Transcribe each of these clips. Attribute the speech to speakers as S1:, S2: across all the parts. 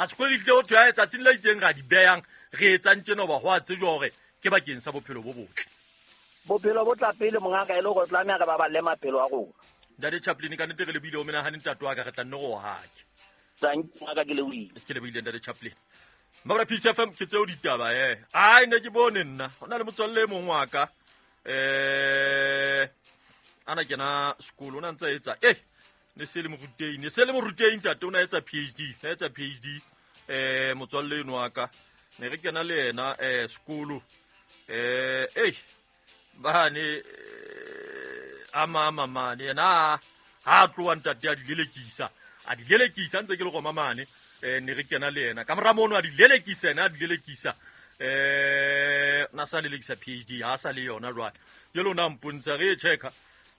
S1: A se kgwedi tle o thwe a tsatsing la itseng ra di beyang re etsang tjena hoba ho a tsejwa hore ke bakeng sa bophelo bo botle.
S2: Bophelo bo tla pele mongaka e le hore tlameha re baballe maphelo a rona.
S1: Ntate Chaplin ka nnete re lebile o menahane ntate wa ka re tla nne go hake.
S2: Thank you ngaka ke lebohile.
S1: Ke lebohile ntate Chaplin. Mabra Peace FM ke tseo ditaba eh. Ai ne ke bone nna. Ho na le motswalle e mong wa ka. Eh ana kena sekolo o na ntse a etsa eh ne se le morutei ne se le morutei ntate o na etsa PhD na etsa PhD eh motswalle eno wa ka ne re kena le yena eh sekolo eh ei bane a mama mane yena ha a tloa ntate a di lelekisa a di lelekisa ntse ke le goma mane um ne re kena le yena ka mora mono a di lelekisa ena a di lelekisa um na sa lelekisa PhD ha sa le yona jwale jale o ne a mpontsha re e checka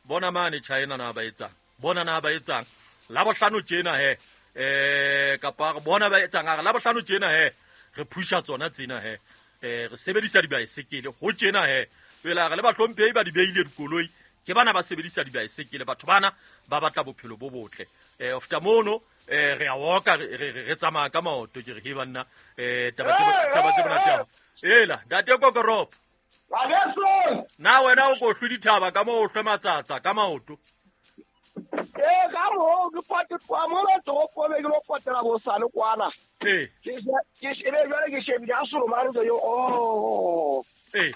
S1: bona mane China na ba etsang bona na ba etsang la bohlano tjena he eh kapa re bona ba etsang a re la bohlano tjena he re phusha tsona tsena he eh re sebedisa dibaesekele ho tjena he pele re le bahlomphehi ba di beile dikoloi ke bana ba sebedisa dibaesekele batho bana ba batla bophelo bo botle eh after mono eh re a woka re tsamaya ka maoto ke re he banna eh taba tse monate yago ela ntate kokoropo na wena o ko hlwe dithaba ka moo o hlwe matsatsa ka maoto
S3: ee ka moo ke pote mona toropong be ke lo potela bosane kwana
S1: ee
S3: ke shebe jwale ke shebile a solomane yo o
S1: ee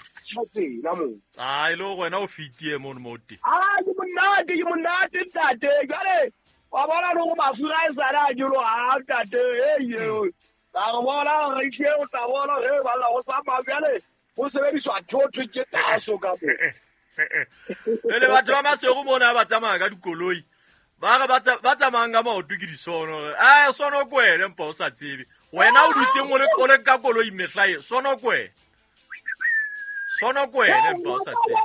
S3: tsela moo
S1: a e le gore wena o fetie mono mo teng
S3: a ke monate ke monate ntate jwale wa bona le gore mafura e sale a nyoloha a ntate eye ka re bona re itlhe o tla bona ge balla go tsamaya bjale go sebediswa thotho ke taso ka mo
S1: pele batho ba masego mona ba tsamaya ka dikoloi ba re ba tsamayang ka maoto ke disono a sono ko wene mpa o sa tsebe wena o dutseng o le ka koloi mehla e sono ko wene sono ko wene mpa o sa tsebe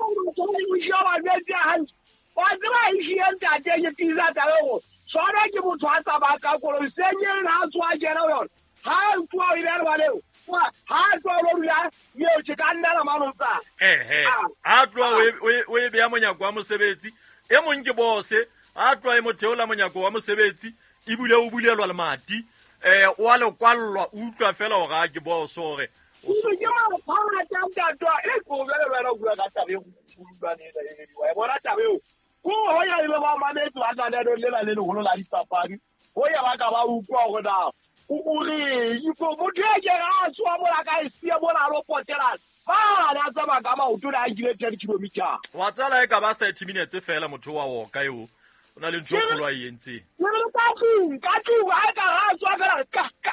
S3: wa tseba e šie ntate ke tisa tabe go swana ke motho a tsamaya ka koloi senyeng ga a tsoa kena yone ga a tsoa o ile lebaleo ga a tsoa o lo dula eo ke ka nnela manotsa
S1: ehe a tloa o e beya monyako wa mosebetsi e mong ke bose a tloa e motheola monyako wa mosebetsi ebile o bulelwa lemati um o a le kwallwa o utlwa fela gore a ke bose gore
S3: ke maphata ntatwa e ko bjale wena o bua ka tabe wa bona tabe eo ko go ya ile ba mametse ba tla le lela le legolo la dipapadi go ya ba ka ba utlwa gore na o reng ko motho e ke ga a tsoa mola ka e sie mola a lo potela ba na tsamaya ka maoto le a nkile 10 kilometer.
S1: Wa tsala e ka ba 30 minutes fela motho wa oka eo o na le ntho e kgolo a e entseng.
S3: Ke re ka tlung ga e ka ga a tsoa fela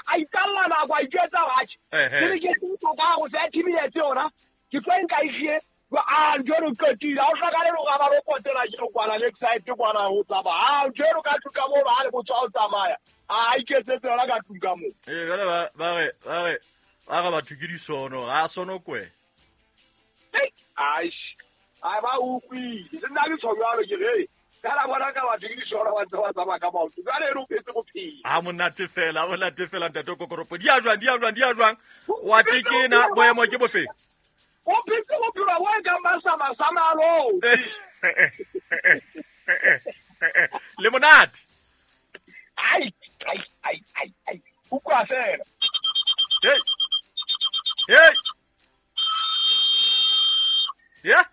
S3: a ikalla nako a itjwetsa batjhe ke re ke tsa ka go 30 minutes yona ke tlo nka isie a ntho eno qetile ha o hlokale le gore ba lo potela ke kwana lakeside kwana ho tsamaya a ntho eno ka tlung ka moo ba le botho ha o tsamaya a iketsetse yona ka tlung ka moo.
S1: Ee jale ba re batho ke disono ga a sono kwe.
S3: Ai ba utlwile le nna ke tsho jalo ke re kana bona ka batho ke disono ba ntse ba tsamaya ka maoto jale eno o phetse bophelo.
S1: A monate fela a monate fela ntate kokoropo di a jwang di a jwang di a jwang wa tekena boemo ke bofe?
S3: O phetse bophelo bo e kang ba samasamalo.
S1: Le monate.
S3: Ai ai ai ai ai utlwa fela.
S1: Hey hey yeah.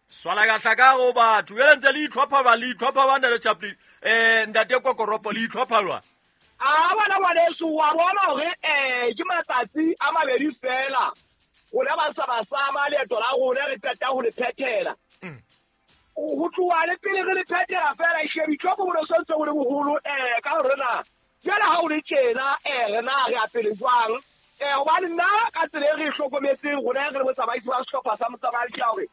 S1: Swalakahla ka go batho jale ntse le itlhopha ba le itlhopha ba ntate Chaplin ntate kokoropo le itlhopha jwang?
S3: A bona ngwaneso wa bona hore ke matsatsi a mabedi fela rona ba sa basama leeto la rona re qeta ho le phethela ho tloha le pele re le phethela fela shebitlopo bo ne so ntse bo le boholo ka hore na jwale ha o le tjena re na re a pele jwang hobane nna ka tsela e re e hlokometseng rona re le botsamaisi ba sehlopha sa motsamai ke ya hore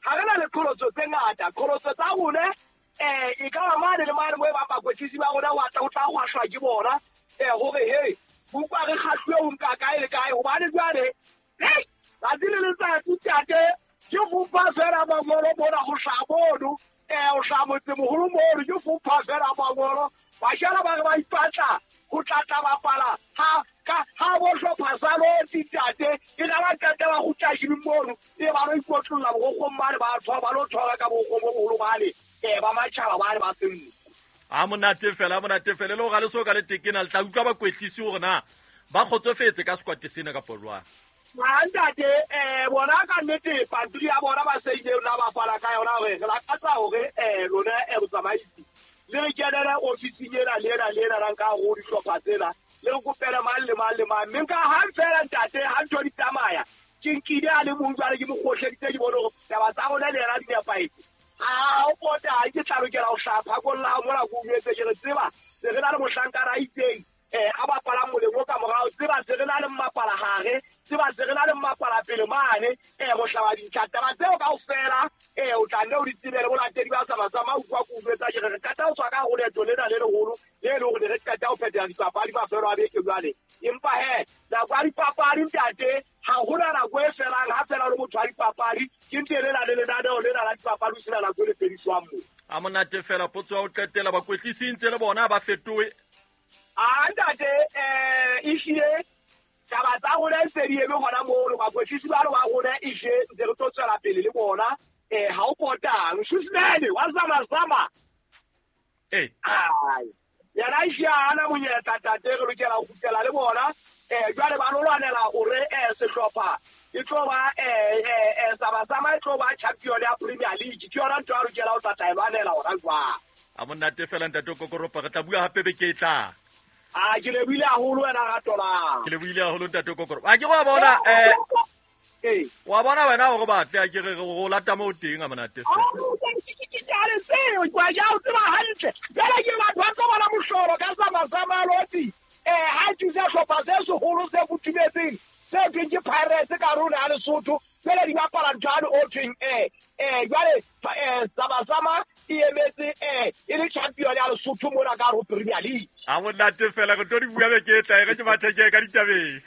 S3: ha re na le qholotso tse ngata qholotso tsa rona e ka ba mane le mane mo e bang bakwetlisi ba rona wa tla o tla hwashwa ke bona hore he utlwa re kgahluwe ho nka kae le kae hobane jwale hei tsatsi le letsatsi tate ke fopha fela mangolo mona ho hlaha mono ho hlaha motsemoholo mono ke fopha fela mangolo bashala ba re ba ipatla ho tlatla bapala ha Ka ha bo hlopha sa lotsi tate e la ba qeta ba kgutla shibing mono e ba lo ikotlolla bogokgong bane ba thoba ba lo thoba ka bogokgong bo boholo bane ba matjhaba bane ba senno.
S1: A monate fela, a monate fela. E le gore ga le so ka le tekena le tla utlwa bakwetlisi gore na ba kgotsofetse ka sekwate sena kapo jwang.
S3: A ntate bona ka nnete pampiri ya bona ba seileng la ba fana ka yona hore re lakatsa hore lona botsamaisi le re kenele ofising ena le ena le ena la nka ho dihlopha tsena le re kopele mang le mang le mang. Mme nka hang fela ntate ha ntho di tsamaya ke nkile a le mong jwale ke mo kgohleditse ke bone hore taba tsa rona le yena di nepahetse. Ha o pota ha ke tla lokela ho hlaha phakong la hao mona ke o jwetse ke re tseba se re na le mohlankana a itseng a bapalang moleng o ka morao, tseba se re na le mmapala hare, tseba se re na le mmapala pele mane, mohlaba dintlha. Taba tseo kaofela o tla nne o di tsebe le bolatedi ba Sama-sama utlwa ke o jwetsa ke re re qeta ho tswa ka hare ho leeto lena le leholo le leng hore ne re qeta ho phethela dipapadi mafelo a beke jwale. Empa he nako ya dipapadi ntate ha hona nako e felang, ha fela o le motho wa dipapadi ke ntse lena le lenaneo lena la dipapadi ho sena nako e le fediswang moo.
S1: A monate fela potso ya ho qetela bakwetlisi ntse le bona ba fetohe.
S3: A ntate ehlile taba tsa rona ntse di eme hona mono, bakwetlisi ba ba rona ehlile ntse re tlo tswela pele le bona. Ha o potang Switzerland wa Sama-sama. Ai yena ehlile ha ana monyetla tate, re lokela ho kgutlela le bona. Jwale ba lo lwanela hore sehlopha e tlo ba Sama-sama e tlo ba champion ya Premier League. Ke yona ntho a lokela ho tla tla e lwanela hona jwang.
S1: A monate fela ntate Kokoropa, re tla bua hape beke e tlang.
S3: A ke lebohile haholo wena Ratola.
S1: Ke lebohile haholo ntate Kokoropa. A ke wa bona wa bona wena hore batle a ke re go lata mo teng a monate fela.
S3: Ke tseo kwa ja o tseba hantle. Jwale ke batho ba tlo bona mohlolo ka Sama-sama lotsi. Ha thusa hlopha se seholo se futhumetseng se thweng ke Pirates ka rona ya Lesotho. Jwale di bapala ntho o thweng jwale Sama-sama e emetse e le champion ya Lesotho mona ka ho Premier League.
S1: A monate fela re tlo di bua beke e tlang, re ke matheke ka ditabeng.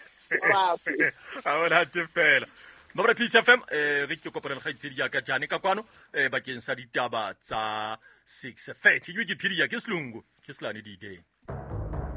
S1: A monate fela. Mabra Peace FM re ke kopana le kgaitsedi ya ka Jane ka kwano bakeng sa ditaba tsa 6:30. Ke Wikipedia ke Selungu ke Selane di-day.